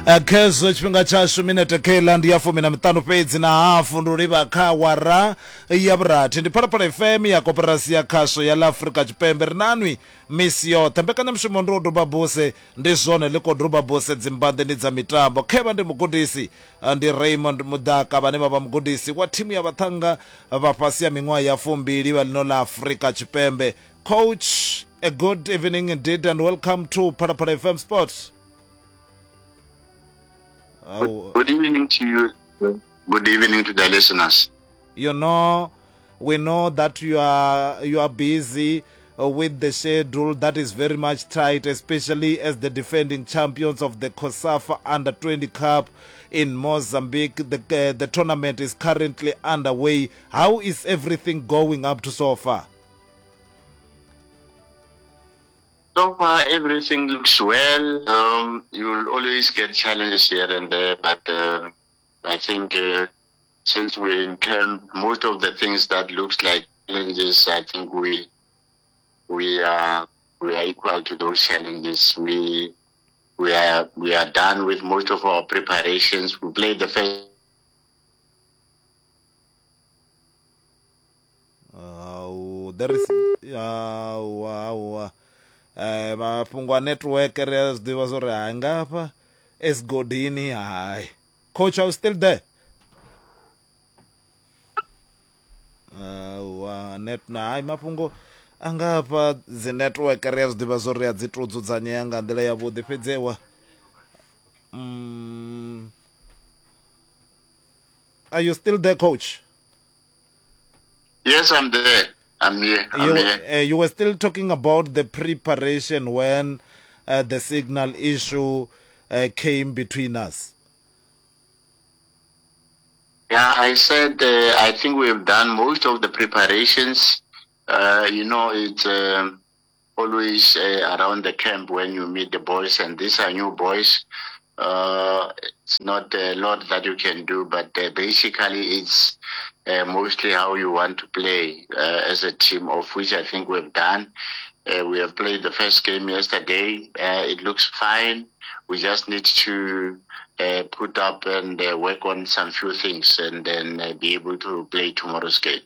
Khezwo tshifhinga tshashu minete kheiḽa ndi ya fumi na miṱanu fhedzi na hafu ndi u livha kha awara ya vhurathi. Ndi Phalaphala FM ya koporasi ya khasho ya ḽa Afrika Tshipembe. Ri nanwi misi yoṱhe. Mbekanyamushumo ndi u duba buse, ndi zwone ḽi khou duba buse dzimbanḓeni dza mitambo. Khevha ndi mugudisi ndi Raymond Mudaka vhane vha vha mugudisi wa thimu ya vhaṱhannga vha fhasi ha miṅwaha ya fumbili vha ḽino ḽa Afrika Tshipembe. Coach, a good evening indeed and welcome to Phalaphala FM Sports. Good evening to you. Good evening to the listeners. You know, we know that you are busy with the schedule that is very much tight, especially as the defending champions of the COSAFA Under 20 Cup in Mozambique. The tournament is currently underway. How is everything going up to so far? So far, everything looks well. You'll always get challenges here and there, but I think since we're in camp, most of the things that looks like challenges, I think we are equal to those challenges. We are done with most of our preparations. We played the first There is awa mafhungo a network ri a zwi ḓivha zwa uri hai ngafha esigodini hai. Coach, are you still there? Wa net na hai mafhungo a ngafha dzi network ri a zwi ḓivha zwa uri a dzi to dzudzanyea nga nḓila yavhuḓi fhedzi wa are you still there, coach? Yes, I'm there. I'm here. I'm You, here. You were still talking about the preparation when the signal issue came between us. Yeah, I said I think we've done most of the preparations. It's always around the camp when you meet the boys, and these are new boys. It's not a lot that you can do, but basically it's mostly how you want to play as a team, of which I think we've done. We have played the first game yesterday. It looks fine. We just need to put up and work on some few things and then be able to play tomorrow's game.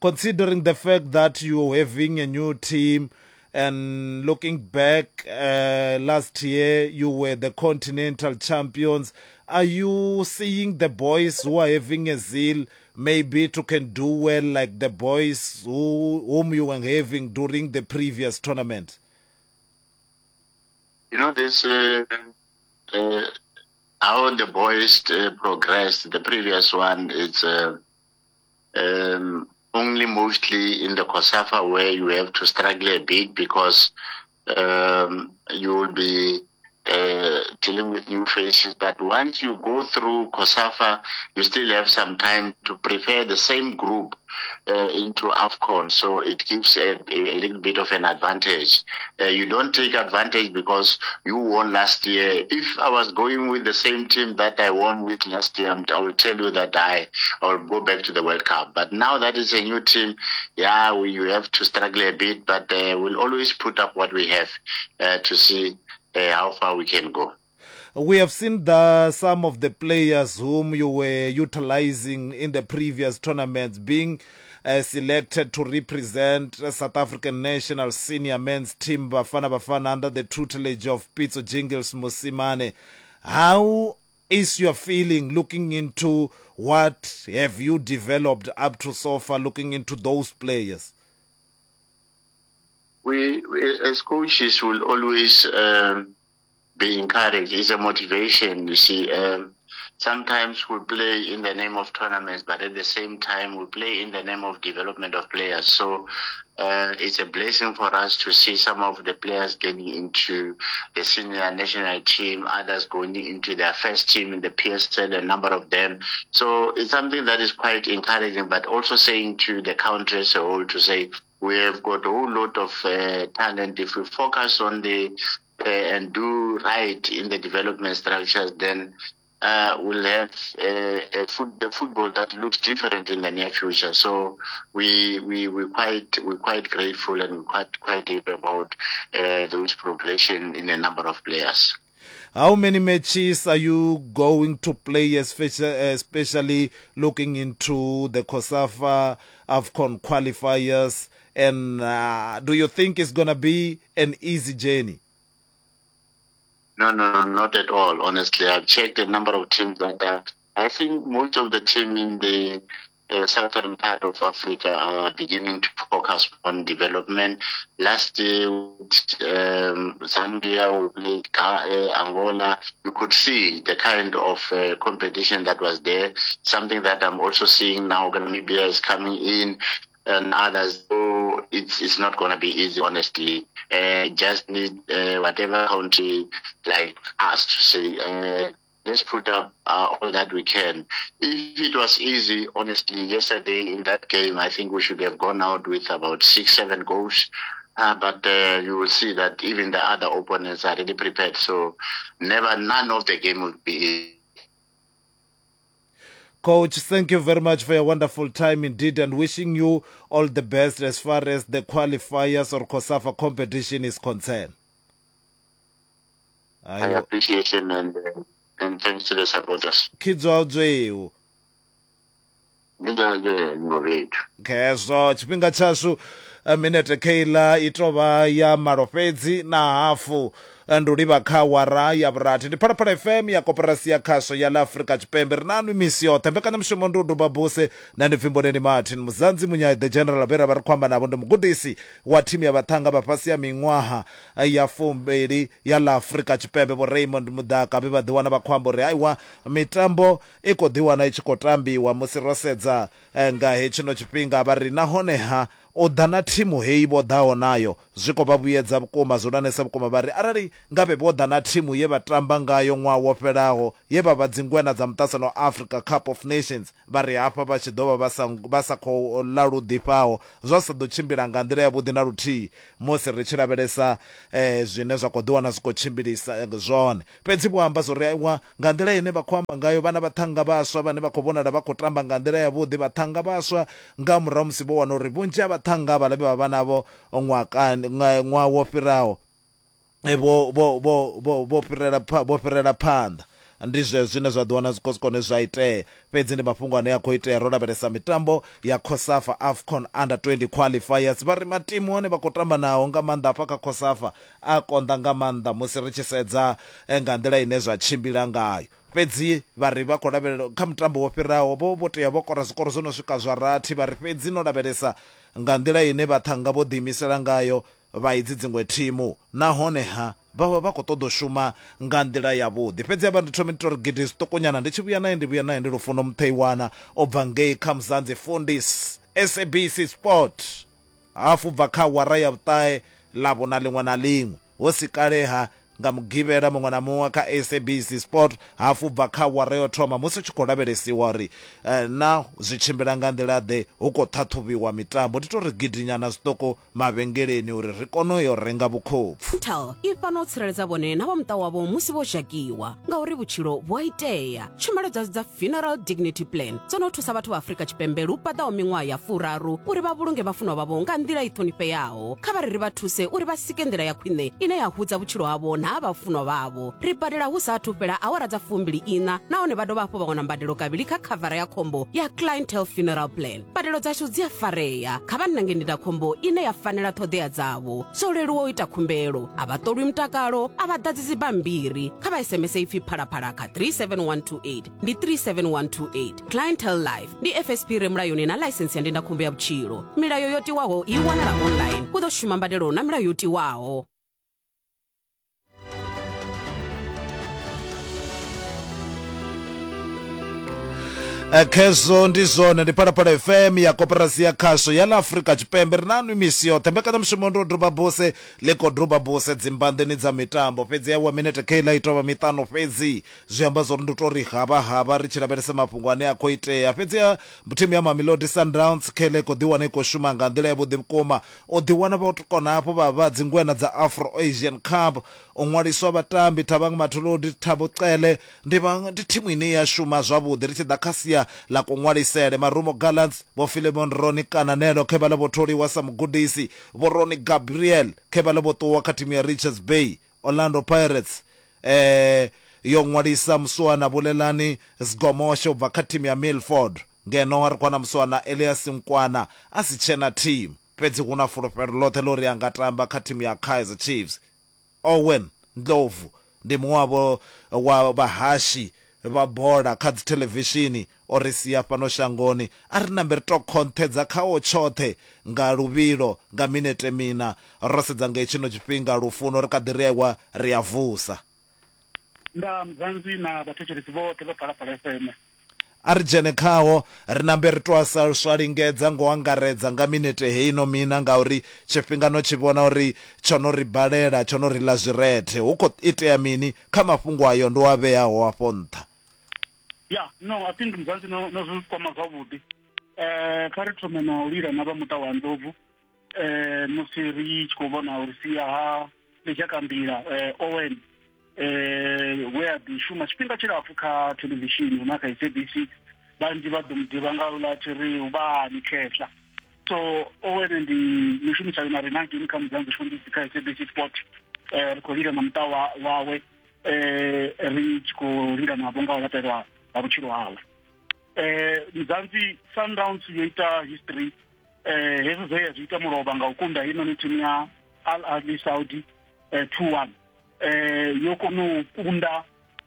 Considering the fact that you're having a new team and looking back last year you were the continental champions, are you seeing the boys who are having a zeal maybe to can do well like the boys whom you were having during the previous tournament? You know, this how the boys progressed. The previous one, it's only mostly in the COSAFA where you have to struggle a bit because you will be dealing with new faces. But once you go through COSAFA, you still have some time to prepare the same group into AFCON. So it gives a little bit of an advantage. You don't take advantage because you won last year. If I was going with the same team that I won with last year, I will tell you that I will go back to the World Cup. But now that is a new team, yeah, you have to struggle a bit, but we'll always put up what we have to see how far we can go. We have seen the some of the players whom you were utilizing in the previous tournaments being selected to represent South African national senior men's team Bafana Bafana under the tutelage of Pitso Jingles Mosimane. How is your feeling looking into what have you developed up to so far, looking into those players? We as coaches will always be encouraged. It's a motivation, you see. Sometimes we play in the name of tournaments, but at the same time we play in the name of development of players. So it's a blessing for us to see some of the players getting into the senior national team, others going into their first team in the PSL, a number of them. So it's something that is quite encouraging, but also saying to the country as a whole to say, we have got a whole lot of talent. If we focus on the and do right in the development structures, then we'll have the football that looks different in the near future. So we're quite grateful and we're quite happy about those progression in a number of players. How many matches are you going to play, especially looking into the COSAFA AFCON qualifiers? And do you think it's going to be an easy journey? No, no, no, not at all. Honestly, I've checked a number of teams that are, I think most of the team in the southern part of Africa are beginning to focus on development. Last year, Zambia, we played Angola. You could see the kind of competition that was there. Something that I'm also seeing now, Namibia is coming in and others. So it's not going to be easy, honestly. Just need whatever country like us to say, let's put up all that we can. If it was easy, honestly, yesterday in that game, I think we should have gone out with about 6-7 goals. But you will see that even the other opponents are really prepared. So none of the game will be easy. Coach, thank you very much for your wonderful time indeed, and wishing you all the best as far as the qualifiers or COSAFA competition is concerned. I appreciate it, and thanks to the supporters. Khidzwa Khezwo tshifhinga tshashu minete kheila i tovha ya malo fhedzi na hafu ndi u livha kha awara ya vhurathi. Ndi Phalaphala FM ya koporasi ya khasho ya ḽa Afrika Tshipembe. Ri na nwi misi yoṱhe. Mbekanyamushumo ndi u duba buse na ndi pfi Martin Muzanzi Munyai the General vhe ra vha ri khou amba navho ndi mugudisi wa thimu ya vhaṱhannga vha fhasi ya miṅwaha ya 20 ya ḽa Afrika Tshipembe Vho Raymond Mudaka vhe vha ḓiwana vha khou amba uri aiwa mitambo i khou ḓiwana i tshi khou tambiwa musi ro sedza nga hetshino tshifhinga. Vha ri nahone ha u ḓa na thimu heyi vho ḓaho nayo zwi khou vha vhuyedza vhukuma, zwihulwanesa vhukuma. Vha ri arali ngavhe vho ḓa na thimu ye vha tamba ngayo ṅwaha wo fhelaho ye vha vha dzingwena dza muṱasano wa Africa Cup of Nations, vha ri hafha vha tshi ḓo vha vha sa vha sa khou ḽa lu ḓifhaho, zwa sa ḓo tshimbila nga nḓila yavhuḓi na luthihi musi ri tshi lavhelesa zwine zwa khou ḓiwana zwi khou tshimbilisa zwone. Fhedzi vho amba zwo ri aiwa nga nḓila ine vha khou amba ngayo vhana vhaṱhannga vhaswa vhane vha khou vhonala vha khou tamba nga nḓila yavhuḓi, vhaṱhannga vhaswa nga murahu musi vho wana uri vhunzhi ha vhaṱhannga havhaḽa vhe vha vha navho ṅwakani ṅwaha wo fhiraho vho vho vho vho vho fhirela vho fhirela phanḓa. Ndi zwezwo zwine zwa ḓi wana zwi khou kone zwa itea, fhedzi ndi mafhungo ane a khou itea ro lavhelesa mitambo ya COSAFA AFCON Under 20 Qualifiers. Vha ri matimu ane vha khou tamba nao nga maanḓa hafha kha COSAFA a konḓa nga maanḓa musi ri tshi sedza nga nḓila ine zwa tshimbila ngayo. Fhedzi vha ri vha khou lavhelela kha mutambo wo fhiraho vho vho tea vho kora zwikoro zwo no swika zwa rathi, vha ri fhedzi no lavhelesa nga nḓila ine vhaṱhannga vho ḓiimisela ngayo vha idzi dziṅwe thimu nahone ha vha vha vha khou ṱoḓa u shuma nga nḓila yavhuḓi. Fhedzi havha ndi thome ndi tou ri gidi zwiṱukunyana ndi tshi vhuya nae ndi vhuya nae ndi Lufuno Mutheiwana o bva ngei kha Mzansi Fundis SABC Sport hafu u bva kha awara ya vhuṱahe Ḽavhuṋa ḽiṅwe na ḽiṅwe hu si kale-ha nga Mugivhela muṅwe na muṅwe kha SABC Sport hafu u bva kha awara yo thoma musi hu tshi khou lavhelesiwa uri na zwi tshimbila nga nḓila-ḓe hu khou ṱhaṱhuvhiwa mitambo. Ndi tou ri gidinyana zwiṱuku mavhengeleni uri ri kone u yo renga vhukhopfu. Ntal i fhano u tsireledza vhone na vha muṱa wavho musi vho zhakiwa, ngauri vhutshilo vhu a itea. Tshumelo dzashu dza Funeral Dignity Plan dzo no thusa vhathu vha Afrika Tshipembe lu paḓaho miṅwaha ya furaru uri vha vhulunge vhafunwa vhavho nga nḓila i ṱhonifheaho. Kha vha ri ri vha thuse uri vha sike nḓila ya khwine ine ya hudza vhutshilo havho na ha vhafunwa vhavho. Ri badela hu sa athu fhela awara dza fumbili iṋa nahone vha dovha hafhu vha wana mbadelo kavhili kha khavara ya khombo ya Clientele Funeral Plan. Mbadelo dzashu dzi a farea. Kha vha nange ndindakhombo ine ya fanela ṱhoḓea dzavho. Zwo leluwa u ita khumbelo. A vha ṱolwi mutakalo, a vha ḓadzi dzibammbiri. Kha vha SMS ipfi Phalaphala kha 37128. Ndi 37128. Clientele Life ndi FSP re mulayoni na ḽaisensi ya ndindakhombo ya vhutshilo. Milayo yo tiwaho i wanala online. Hu ḓo shuma mbadelo na milayo yo tiwaho. Eh, khezwo ndi zwone ndi phalaphala fm ya koporasi ya khasho ya ḽa afurika tshipembe ri na nwi misi yoṱhe mbekanyamushumo ndi u duba buse ḽi khou duba buse dzimbanḓeni dza mitambo fhedzi ya wa minete keiḽa i tovha miṱanu fhedzi zwi amba zwori ndi u tou ri havha havha ri tshi lavhelesa mafhungo ane a khou itea fhedzi ya thimu ya mamelodi sundowns keiḽa i khou ḓiwana i khou shuma nga nḓila yavhuḓi vhukuma U ḓiwana vho kona hafhu vha vha dzingwena dza Afro Asian Cup. U ṅwaliswa vhatambi Thabang Matuludi, Thabo Cele ndi vha ndi thimu ine ya shuma zwavhuḓi ri tshi ḓa kha sia ḽa kuṅwalisele. Marumo Gallants, Vho Philemon Ronnie Kananelo khe vhaḽa vho tholiwa sa mugudisi, Vho Ronnie Gabriel khe vhaḽa vho ṱuwa kha thimu ya Richards Bay. Orlando Pirates. Yo ṅwalisa muswana Bulelani Zgomoshe u bva kha thimu ya Milford, ngeno ri khou wana muswana Elias Nkwana a si tshena thimu, fhedzi hu na fulufhelo ḽoṱhe ḽa uri a nga tamba kha thimu ya Kaizer Chiefs. Owen Ndlovu ndi muṅwe wavho wa vhahashi vha bola kha dzithelevishini o ri sia fhano shangoni. A ri nambe ri tou khonṱhedza khao tshoṱhe nga luvhilo nga minete mina. Ro sedza nga hetshino tshifhinga lufuno ri kha ḓi ri aiwa ri a vusa. Nda Mzansi na vhathetshelesi vhoṱhe vha Phalaphala FM. A ri dzhene khaho ri nambe ri tou sa swa lingedza ngo angaredza nga minete heino mina ngauri tshifhinga no tshi vhona uri tsho no ri balela, tsho no ri ḽa zwirethe. Hu khou itea mini kha mafhungo ayo ndo a vheaho afho nṱha? Ya, no, I think Mzansi no, no zwi kwama zwavhuḓi. Eh, kha ri thome na u lila na vha muṱa wa Ndlovu eh, musi ri tshi khou vhona uri sia ha Ḽizhakanḓila eh, Owen eh, we a ḓi shuma tshifhinga tshilapfu kha thelevishini na kha SABC vhanzhi vha ḓo mu ḓivha nga uḽa tshi ri vhani khehla so Owen ndi mushumisani na rina hangeini kha Mzansi Showbiz kha SABC Sport eh, ri khou lila na muṱa wawe eh, ri tshi khou lila navho nga u laṱelwa ha vhutshilo hawe eh, Mzansi Sundowns yo ita history eh, hezwi zwe ya zwi ita mulovha nga u kunda heinoni thimu ya Al Ahly Saudi eh, 2-1 eh, yo kona u kunda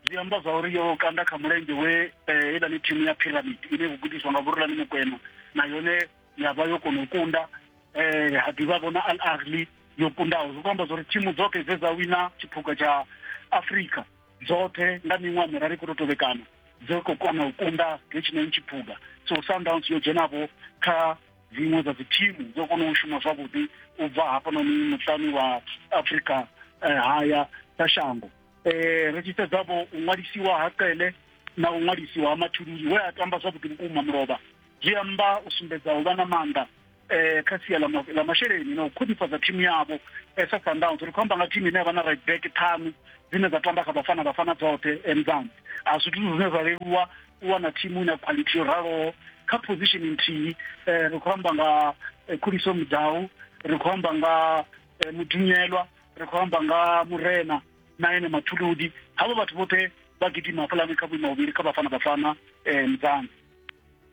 zwi amba zwa uri yo kanda kha mulenzhe we eh, heiḽani thimu ya Pyramid ine u gudiswa nga Vhurulani Mokwena na yone ya vha yo kona u kunda eh, ha ḓivha vhona Al Ahly yo kundaho zwi khou amba zwa uri thimu dzoṱhe dze dza wina tshiphuga tsha Afrika dzoṱhe nga miṅwaha miraru i khou tou tovhekana dzo khou kona u kunda hetshinoni tshiphuga so Sundowns yo dzhenavho kha dziṅwe dza dzi thimu dzo kona u shuma zwavhuḓi u bva hafhanoni muṱani wa Afrika eh, haya sa shango eh, ri tshi sedza vho u ṅwalisiwa ha Cele na u ṅwalisiwa ha Mathululi we a tamba zwavhuḓi vhukuma mulovha zwi amba u sumbedza u vha na maanḓa eh, kha sia ḽa masheleni na u khwinifhadza thimu yavho eh, sa Sundowns ri khou amba nga thimu ine ya vha na right back ṱhanu dzine dza tamba kha Bafana Bafana dzoṱhe eh, Mzansi a zwithu zwine zwa leluwa u wana thimu ina quality yo raloho kha position nthihi eh, ri khou amba nga eh, Khuliso Mudau ri khou amba nga eh, Mudunyelwa ri khou amba nga Murena na ene Mathuludi havho vhathu vhoṱhe vha gidima hafhaḽani kha vhuimo vhuvhili kha Bafana Bafana eh, Mzansi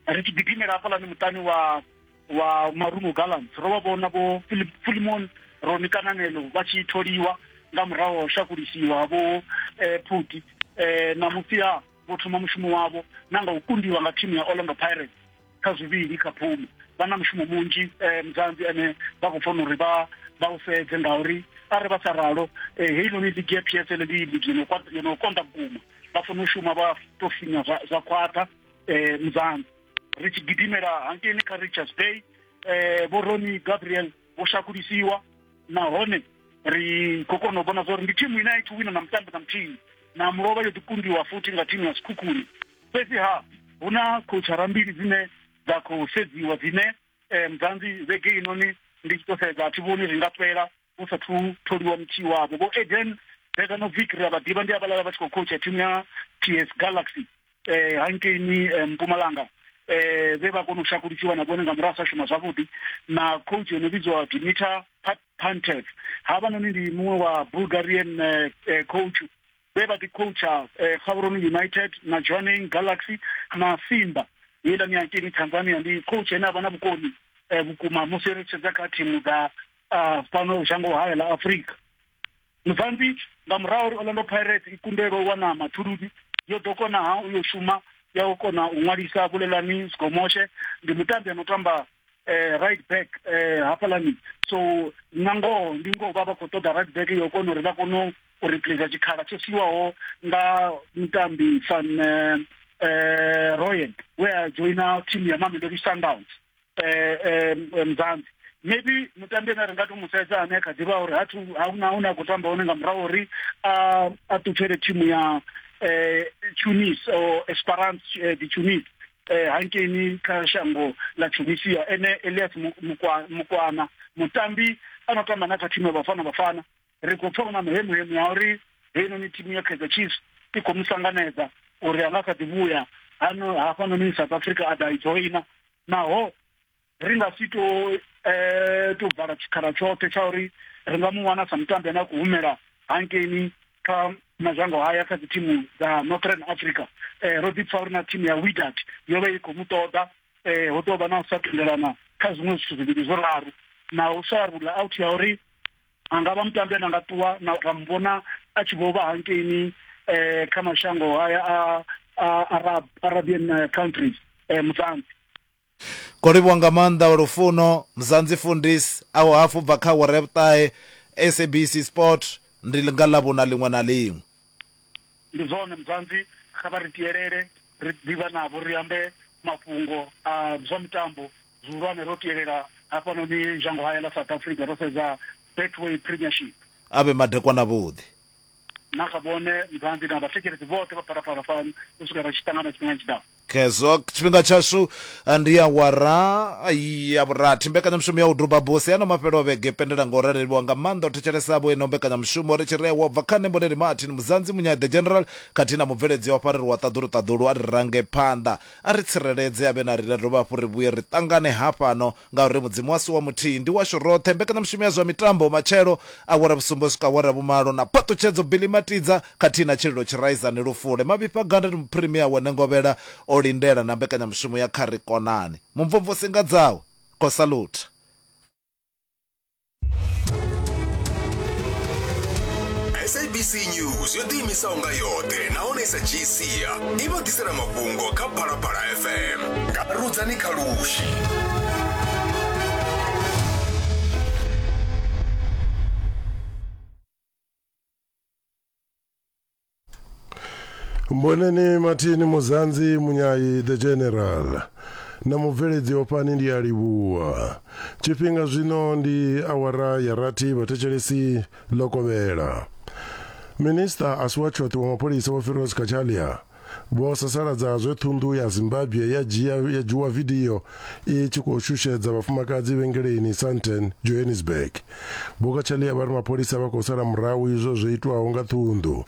ri tshi gidimela hafhaḽani muṱani wa wa Marumo Gallants ro vha vhona vho Philemon Roni Kananelo vha tshi tholiwa nga murahu ha u shakulisiwa vho eh, Phuti eh, na musi vho thoma mushumo wavho na nga u kundiwa nga thimu ya Orlando Pirates kha zwivhili kha phumi vha na mushumo munzhi eh, Mzansi ane vha khou fanela uri vha vha u sedze ngauri arali vha sa ralo eh, heinoni ligi ya PSL ndi ligi yo no konḓa vhukuma vha fanela u shuma vha to finya zwa khwaṱha eh, Mzansi ri tshi gidimela hangeini kha Richards Bay eh, vho Ronnie Gabriel vho shakulisiwa nahone ri khou kona u vhona zwa uri ndi thimu ine a i thu wina na mutambo na muthihi na mulovha yo ḓi kundiwa futhi nga thimu ya Sekhukhune fhedzi ha hu na khouchara mbili dzine dza khou sedziwa dzine eh, Mzansi vhege inoni ndi tshi to sedza a thi vhoni ri nga fhela hu sathu tholiwa muthihi wavho vho Eden Beganovic ri a vha ḓivha ndi havhaḽa vha tshi khou coacha thimu ya TS Galaxy eh hankeini eh, Mpumalanga eh vhe vha kona u shakulisiwa na vhone nga murahu sa shuma zwavhuḓi na coach yo no vhidzwa Dimitar Pantev havhanoni ndi muṅwe wa Bulgarian eh, eh, coach vhe vha ḓi coacha eh, Gaborone United na Jwaneng Galaxy na Simba heiḽani hankeini Tanzania ndi coach ane avha na vhukoni eh, vhukuma musi ri tshi sedza kha thimu dza ah, fhano shango haya ḽa Afrika Mozambique nga murahu uri Orlando Pirates i kundelwe u wana mathuludi yo ḓo kona ha u yo shuma ya u kona u ṅwalisa Bulelani Zgomoshe ndi mutambi ano tamba eh, right back eh, hafhaḽani so na ngoho ndi ngoho vha vha khou ṱoḓa right back yo kona uri vha kone u replace tshikhala tsho siwaho nga mutambi Van eh, eh, Rooyen we a joina team ya Mamelodi Sundowns eh, eh, Mzansi maybe mutambi ane ri nga to mu sedza ane kha ḓivha uri hathu huna hune a khou tamba hone nga murahu uri a a ṱutshele thimu ya eh, Tunis or Esperance eh, de Tunis eh, hankeini kha shango ḽa Tunisia ene Elias Mukwana mutambi a no tamba na kha thimu ya Bafana Bafana ri khou pfa na muhemuhemu ya uri heinoni thimu ya Kaizer Chiefs i khou mu sanganedza uri a nga kha ḓi vhuya hano hafhanoni South Africa a ḓa i dzhoina naho ri nga si to eh, to vala tshikhala tshoṱhe tsha uri ri nga mu wana sa mutambi ane a khou humela hankeini kha Mazhango haya kha dzi thimu dza Northern Africa. Ro ḓi pfa uri na thimu ya Wydad yo vha i khou mu ṱoḓa, ho tou vha na u sa tendelana kha zwiṅwe zwithu zwivhili zwiraru na u sa rula out ya uri a nga vha mutambi ane a nga ṱuwa na ra mu vhona a tshi vho vha hankeini kha mashango haya a Arab, Arabian countries Muzanzi. Khou livhuwa nga maanḓa wa lufuno Mzansi Fundis aho hafhu bva kha awara ya vhuṱahe SABC Sport ndi nga Ḽavhuna ḽiṅwe na ḽiṅwe. Ndi zwone Mzansi, kha vha ri tielele ri ḓivha navho ri ambe mafhungo a zwa mitambo zwihulwane ro tielela hafhanoni zhangohaya ḽa South Africa ro sedza Betway Premiership. A vhe madekwana avhuḓi. Na kha vhone Mzansi na vhathetshelesi vhoṱhe vha Phalaphala FM u swika ri tshi ṱangana tshifhingani tshi ḓaho. Khezwo tshifhinga tshashu ndi awara ya vhurathi. Mbekanyamushumo ya u duba buse ano mafhelo a vhege pendela nga u raleliwa nga maanḓa u thetshelesa vho ino mbekanyamushumo ri tshi rea wa bva kha nṋe Mboneli Martin Muzanzi Munyai The General khathihi na mubveledzi wa fhareri wa ṱaḓulu ṱaḓulu a ri range phanḓa a ri tsireledze a vhe na riṋe dovha hafhu ri vhuye ri ṱangane hafhano Ngauri Mudzimu washu wa muthihi ndi washu roṱhe. Mbekanyamushumo ya zwa mitambo matshelo, awara vhusumbe u swika awara ya vhumalo, na phaṱhutshedzo Billy Matidza khathihi na Tshililo Tshiraizani Lufule. Mavhifha Ganda ndi muphirimia we Nengovhela o lindela na mbekanyamushumo ya Kha Ri Konane. Mumvumvusi nga dzawe, Khou salutha. SABC News yo ḓiimisaho nga yoṱhe nahone i sa dzhii sia i vha ḓisela mafhungo kha Phalaphala FM nga Rudzani Khalushi. Mboneni Mathini Muzanzi Munyayi the General na mubveledzi ofhani ndi a livhuwa tshifhinga zwino ndi awara ya rathi vhathetshelesi ḽo kovhela minista a si wa tshoṱhe wa mapholisa vho Firoz Cachalia Vho sasaladza zwe ṱhunḓu ya Zimbabwe ya dzhia ya dzhiwa vidio i tshi khou shushedza vhafumakadzi vhengeleni Sandton, Johannesburg. Vho Cachalia vha ri mapholisa vha khou sala murahu izwo zwo itwaho nga ṱhunḓu.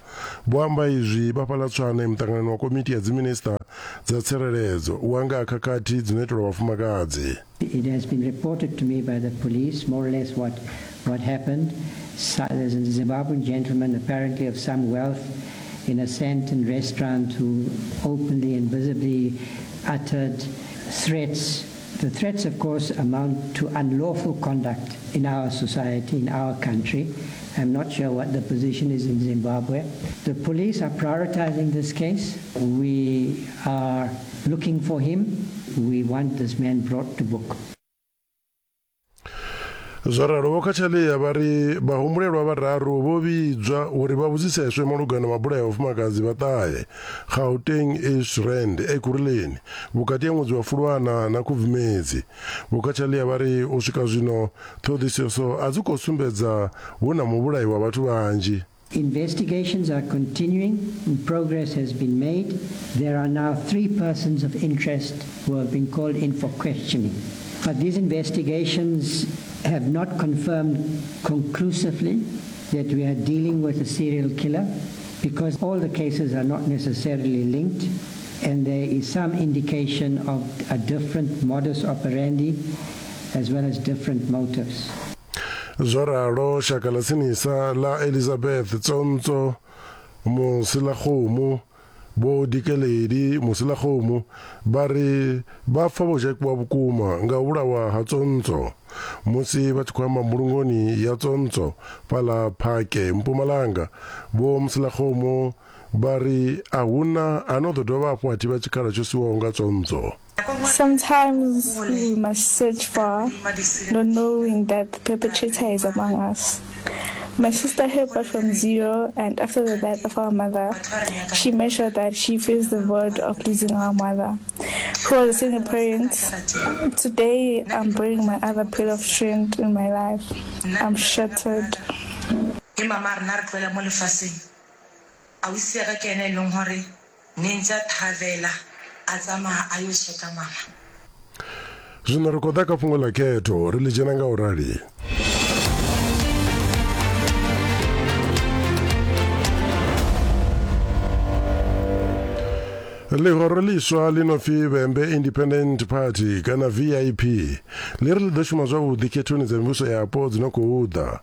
Vho amba izwi vha fhaḽa Tshwane muṱanganoni wa komiti ya dziminisiṱa dza tsireledzo wa nga ha khakhathi dzi no itelwa vhafumakadzi. It has been reported to me by the police more or less what what happened. So, there's a Zimbabwean gentleman apparently of some wealth in a Sandton restaurant who openly and visibly uttered threats. The threats, of course, amount to unlawful conduct in our society, in our country. I'm not sure what the position is in Zimbabwe. The police are prioritizing this case. We are looking for him. We want this man brought to book. Zwo ralo, Vho Cachalia vha ri vhahumbulelwa vhararu vho vhidzwa uri vha vhudziseswe malugana na mabulayo a vhafumakadzi vha ṱahe Gauteng East Rand, Ekurhuleni vhukati ha ṅwedzi wa Fulwana na Khubvumedzi. Vho Cachalia vha ri u swika zwino ṱhoḓisiso a dzi khou sumbedza hu na muvhulayi wa vhathu vhanzhi. Investigations are continuing and progress has been made. There are now three persons of interest who have been called in for questioning. But these investigations have not confirmed conclusively that we are dealing with a serial killer because all the cases are not necessarily linked and there is some indication of a different modus operandi as well as different motives. Zwo ralo, shaka ḽa tsinisa ḽa Elizabeth Tsontso Moselakgomo, Vho Dikeledi Moselakgomo, vha ri vha pfa vho zhakiwa vhukuma nga u vhulawa ha Tsontso. Musi vha tshi khou amba mbulungoni ya Tsontso fhaḽa Phake, Mpumalanga, Vho Moselakgomo vha ri a hu na a no ḓo dovha hafhu a thivha tshikhala tsho siwaho nga Tsontso. Sometimes we must search far, not knowing that the perpetrator is among us. My sister helped from zero, and after the death of our mother, she made sure that she fills the void of losing our mother, who was a single parent. Today, I'm bringing my other pillar of strength in my life. I'm shattered. Ausi ya ka ke yena e leng gore ne ntse a thabela a tsamaya a yo checka mama. Zwino ri khou ḓa kha fhungo ḽa khetho, ri ḽi dzhena nga u rali. Ḽihoro ḽiswa ḽi no pfi Vhembe Independent Party kana VIP ḽi ri ḽi ḓo shuma zwavhuḓi khethoni dza mivhuso yapo dzi no khou ḓa.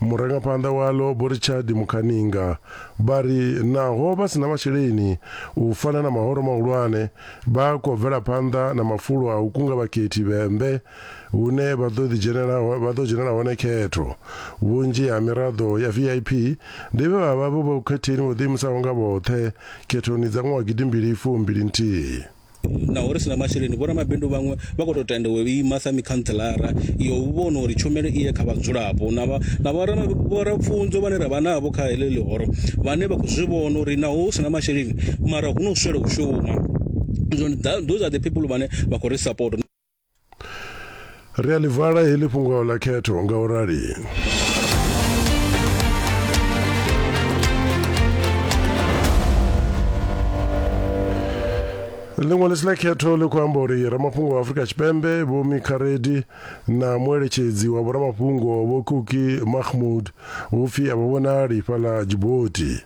Murangaphanḓa waḽo Vho Richard Mukhaninga. Vha ri naho vha si na masheleni u fana na mahoro mahulwane, vha khou bvela phanḓa na mafulo a u kunga vhakhethi Vhembe hune vha ḓo ḓidzhenela vha ḓo dzhenela hone khetho. Vhunzhi ha miraḓo ya VIP ndi vhe vha vha vhe vhokhetheni vho ḓiimisaho nga vhoṱhe khethoni dza ṅwaha wa gidimbili fumbili nthihi. Naho ri si na masheleni, vhoramabindu vhaṅwe vha khou tou tenda u ima sa mikhantselara yo u vhona uri tshumelo i ye kha vhadzulapo na na vhorapfunzo vhane ra vha navho kha heḽi ḽihoro vhane vha khou zwi vhona uri naho hu si na masheleni mara hu no swela u shuma. Those are the people vhane vha khou ri support. Ri a ḽi vala heḽi fhungo ḽa khetho nga u rali. Ḽiṅwe ḽisi ḽa khetho ḽi khou amba uri ramafhungo wa Afrika Tshipembe Vho Mika Reddy na mueletshedzi wa vhoramafhungo Vho Kuki Mahmood hu pfi a vha vhonali fhaḽa Djibouti.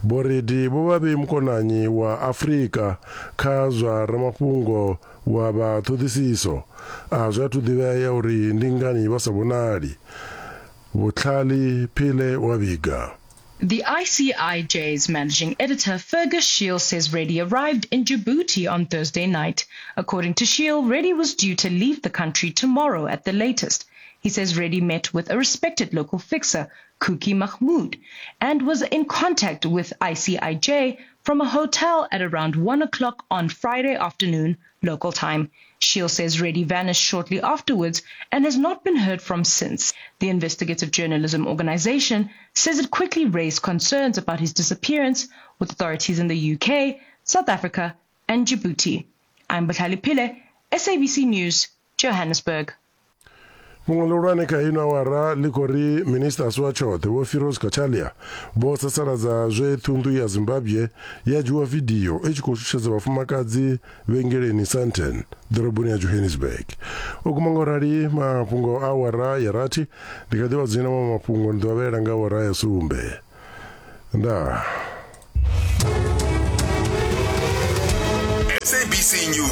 Vho Reddy vho vha vhe mukonanyi wa Afrika kha zwa ramafhungo wa vha ṱhoḓisiso a zwi athu ḓivhea uri ndi ngani vha sa vhonali. Vhutlhali Phile wa vhiga. The ICIJ's managing editor, Fergus Shiel, says Reddy arrived in Djibouti on Thursday night. According to Shiel, Reddy was due to leave the country tomorrow at the latest. He says Reddy met with a respected local fixer, Kuki Mahmoud, and was in contact with ICIJ from a hotel at around 1 o'clock on Friday afternoon, local time. Shiel says Reddy vanished shortly afterwards and has not been heard from since. The investigative journalism organization says it quickly raised concerns about his disappearance with authorities in the UK, South Africa, and Djibouti. I'm Bathali Pile, SABC News, Johannesburg. Fhungo ḽihulwane kha ino awara ḽi khou ri minista a si wa tshoṱhe Vho Firoz Cachalia vho sasaladza zwe ṱhunḓu ya Zimbabwe ya dzhiwa vidio i tshi khou shushedza vhafumakadzi vhengeleni Sandton, ḓoroboni ya Johannesburg. U guma nga u rali mafhungo a awara ya rathi ndi kha ḓi vha dzhena maṅwe mafhungo ndi ḓo a vhalela nga awara ya sumbe. Ndaa. SABC News.